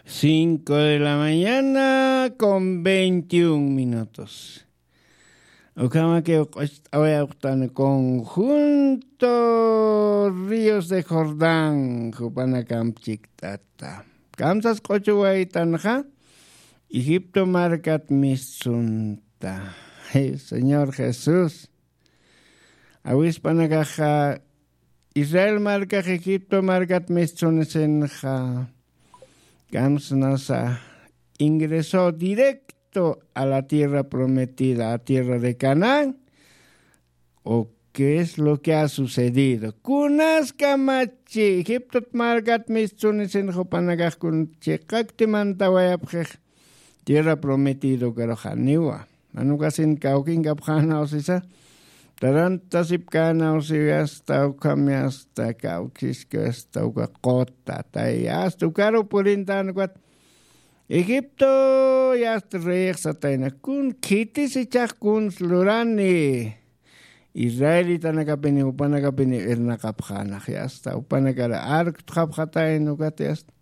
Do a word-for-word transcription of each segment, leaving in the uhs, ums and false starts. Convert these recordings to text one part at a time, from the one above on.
Cinco de la mañana con veintiún minutos. Ukhamakiw q'ucht'awayapxtan conjunto Ríos de Jordán jupanakamp chikt'ata. Kamsas q'uchuwaytanxa Egipto markat mistsunta. Señor Jesús, awispanakaxa Israel markax Egipto markat mistsunisinxa kamsnasa ingresó directo a la tierra prometida, a tierra de Canaán. ¿O qué es lo que ha sucedido? Kunas kamachi Egipto markat mistsunisin jupanakax kun chiqakti mantawayapxix tierra prometida ukaruxaniwa. Manukasin kawkinkapxanaw sisa tarantasipkanaw siwi asta ukhami asta kawkiski asta uka qota tay asta ukaru purintan ukat Egipto yasta reyixsatayna kun khitis ichax kuns lurani israelitanakapini jupanakapini irnaqapxanax yasta jupanakara arktxapxatayna ukat yasta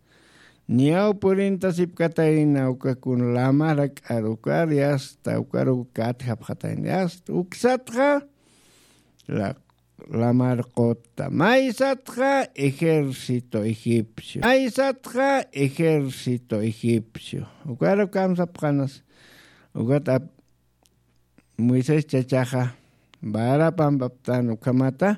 niyaw purintasipkatayna ukakun lamara k'arukar yasta ukaru katjapxatayna yasta uksatxa la lamar qota maysatxa ejército egipcio maysatxa ejército egipcio ukaru kamsapxanas ukat ap- moisés chachaxa vara pampaptan ukhamata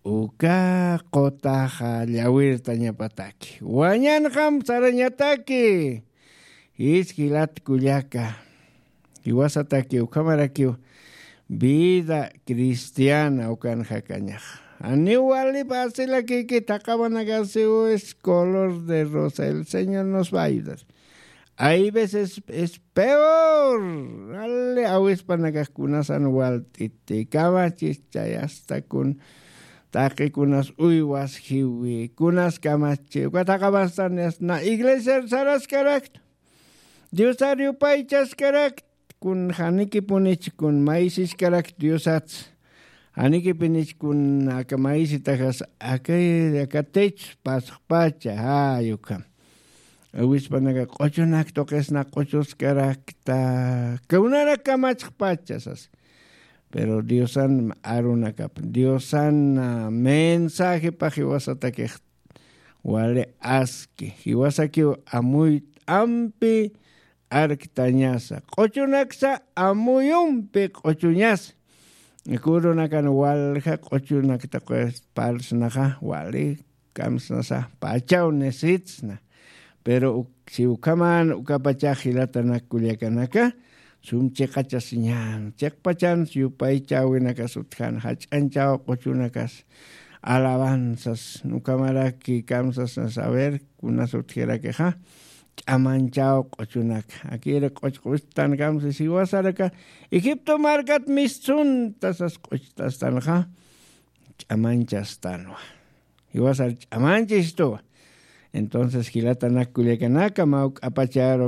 uka qotaxa llawirtañapataki wañanxam sarañataki. Jis jilat kullaka jiwasataki ukhamarakiw vida cristiana ukan jakañax janiw wali fácilakiki thaqamanakasiw es color de rosa el señor nos va a ayudar. Hay veces es peor. Wali awispanakax kunasan walt'iti kamachis chay asta kun taqi kunas uywas jiwi kunas kamachi uka thaqamastan na iglesiar saraskarakta diosar yupaychaskarakta kun janikipunich kun maysiskarakta diosats janikipinich kun aka maysitajas akay aka techos pasxpacha jay ukham awispanaka q'uchunak tuqisna q'uchuskarakta kawnarak kamachxpacha sas. Pero diosan arunakap diosan mensajepax jiwasatakix wali aski jiwasakiw amuyt'ampi arktañasa q'uchunaksa amuyumpi q'uchuñasa kurunakan walja q'uchunakta parsnaxa wali kamsnasa pachaw nisitsna. Pero si ukhaman ukapachax jilatanak kullakanaka sum chiqachasiñan chiqpachan yupaychäwinakas utjan jach'anchaw q'uchunakas alabanzas ukhamaraki kamsasna saber kunas utjirakixa ch'amanchaw q'uchunaka akiri q'uchq'uchtan kamsa siwasaraka egipto markat mistsunta sas q'uchtastanxa ch'amanchastanwa. Jiwasar ch'amanchistuwa. Entonces jilatanak kullakanaka mawk'apacharu